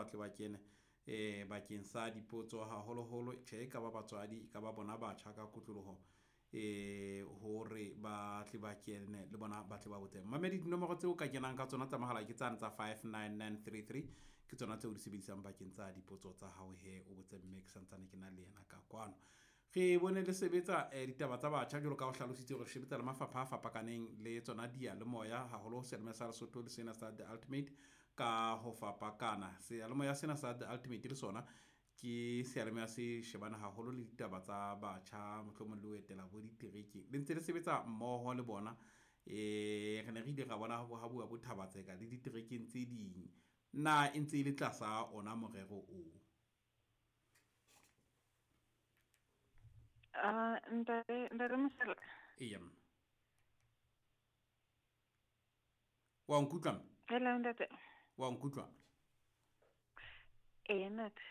ba tle ba kene bakeng sa dipotso haholoholo. Tjhe, e ka ba batswadi, e ka ba bona batjha ka kotloloho, hore ba tle ba kene le bona ba tle ba botse. Mamedi, dinomoro tseo ka kenang ka tsona tsa mohala ke tsane tsa 59933, ke tsona tseo di sebedisang bakeng tsa dipotso tsa hao. He o botse mme ke santsane ke na le yena ka kwano. Re bone le sebetsa ditaba tsa batjha jwalo ka o hlalositse hore sebetsa le mafapha a fapakaneng le tsona diyalemoya, haholo seyalemoya sa Lesotho le sena sa The Ultimate ka ho fapakana. Seyalemoya sena sa The Ultimate le sona ke seyalemoya se shebana haholo le ditaba tsa batjha, mohlomong le ho etela bo diterekeng. Le ntse le sebetsa mmoho le bona. Re ne re ile ra bona ha bua bo Thabatseka le diterekeng tse ding. Na e ntse e le tlasa ona morero oo? Ntate Mosala. Eya. Wa nkutlwa? Hello ntate. Wa nkutlwa? Eya ntate.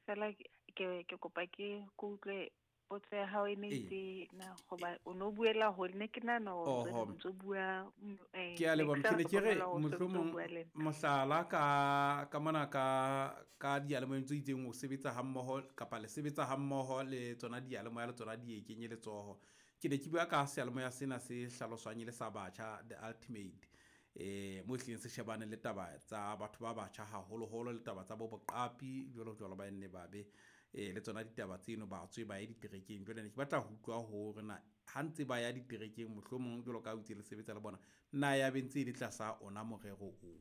Fela ke kopa ke utlwe potso ya hao e ne itse na hoba o no buela hole, ne ke nahana hore o ntso bua, Ke a leboha. Ke ne ke re mohlomong mohlala ka mona ka diyalemoyeng tse itseng o sebetsa ha mmoho kapa le sebetsa ha mmoho le tsona diyalemoya le tsona di e kenye letsoho. Ke ne ke bua ka seyalemoya sena se hlaloswang e le sa batjha, The Ultimate, mo ehlileng se shebane le taba tsa batho ba batjha haholoholo, le taba tsa bo boqapi jwalo jwalo, ba nne ba be le tsona ditaba tseno, batswe ba ye diterekeng. Jwale ne ke batla ho utlwa hore na ha ntse ba ya diterekeng mohlomong jwalo ka o itse le sebetsa le bona, na ya be ntse e le tlasa ona morero oo?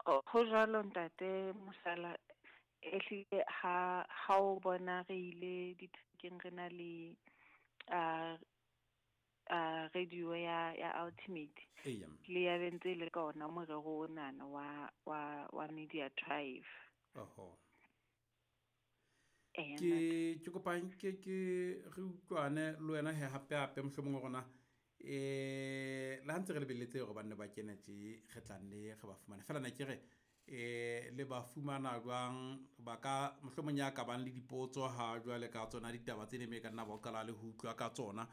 Ho jwalo ntate Mosala, ehlile ha o bona re ile diterekeng re na le radio ya Ultimate. Le ya be ntse le ka ona morero onana wa Media Tribe. Oho. Ke kopa ke re utlwane le wena he hape hape mohlomong rona le ha ntse re lebelletse hore banne ba kene tje, re tla nne re ba fumane. Feela ne ke re le ba fumana jwang, ba ka mohlomong ya ka bang le dipotso ha jwale ka tsona ditaba tse ne me ka nna ba qala le ho utlwa ka tsona.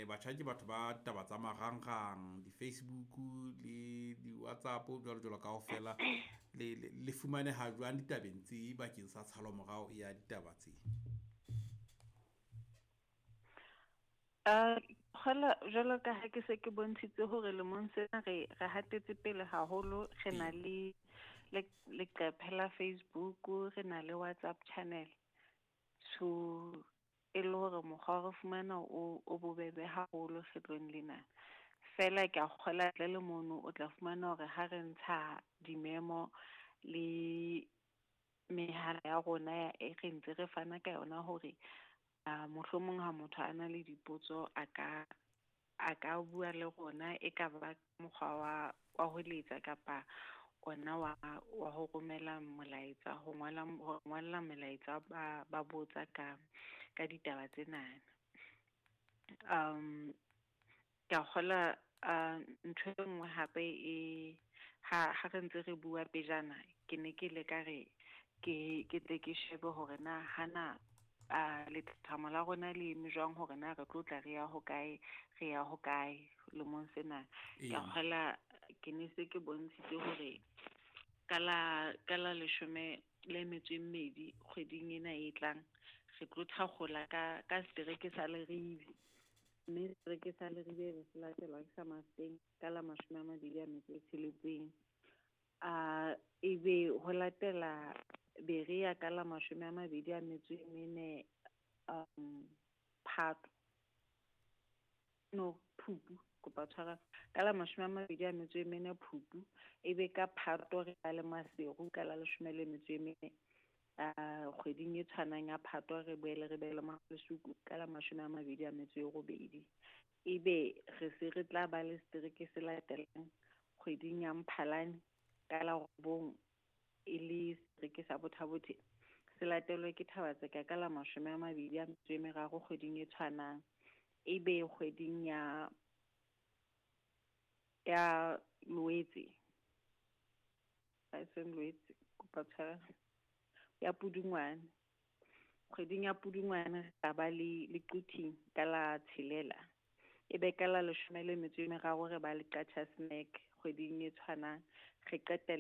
Batjha ke batho ba taba tsa marangrang, di-Facebook le di-WhatsApp jwalo jwalo kaofela. Le fumaneha jwang ditabeng tse bakeng sa tshalo morao ya ditaba tse? Kgola jwalo ka ha ke se ke bontshitse hore lemong sena re hatetse pele haholo, re na le leqephe la Facebook, re na le WhatsApp channel. So e le hore mokgwa re fumana o bobebe haholo kgetlong lena. Fela ke a kgola ntle le mono o tla fumana hore ha re ntsha dimemo le mehala ya rona e re ntse re fana ka yona hore mohlomong ha motho a na le dipotso a ka bua le rona, e ka ba mokgwa wa ho letsa kapa ona wa ho romela molaetsa, ho ngola molaetsa ba botsa ka ditaba tsena. Ke a kgola ntho e nngwe hape e ha re ntse re bua pejana, ke ne ke le ka re ke tle ke shebe hore na hana lethathamo la rona le eme jwang, hore na re tlo tla re ya hokae, re ya hokae lemong sena. Ke kgola ke ne se ke bontshitse hore ka la 12 kgweding ena e tlang re tlo thakgola ka setereke sa Leribe, mme setereke sa Leribe re se latelwa ke sa Mafeteng ka la 26. Ebe ho latela Berea ka la 24 Phato, no Phupu, kopa tshwara, ka la 24 Phupu, ebe ka Phato re ba le Maseru ka la 14, kgweding e tshwanang ya Phato re boele re be le Malesuku ka la 28. Ebe re se re tla ba le setereke se latelang kgweding ya Mphalane ka la 9, e le setereke sa Botha-Bothe, se latelwe ke Thabatseka ka la 23 kgweding e tshwanang. Ebe kgweding ya Loetse, seng Loetse, kopa tshwarelo, ya Pudungwane, kgweding ya Pudungwane re tla ba le Quthing ka la 6, ebe ka la 13 re ba le Qacha's Nek kgweding e tshwanang, re qetelle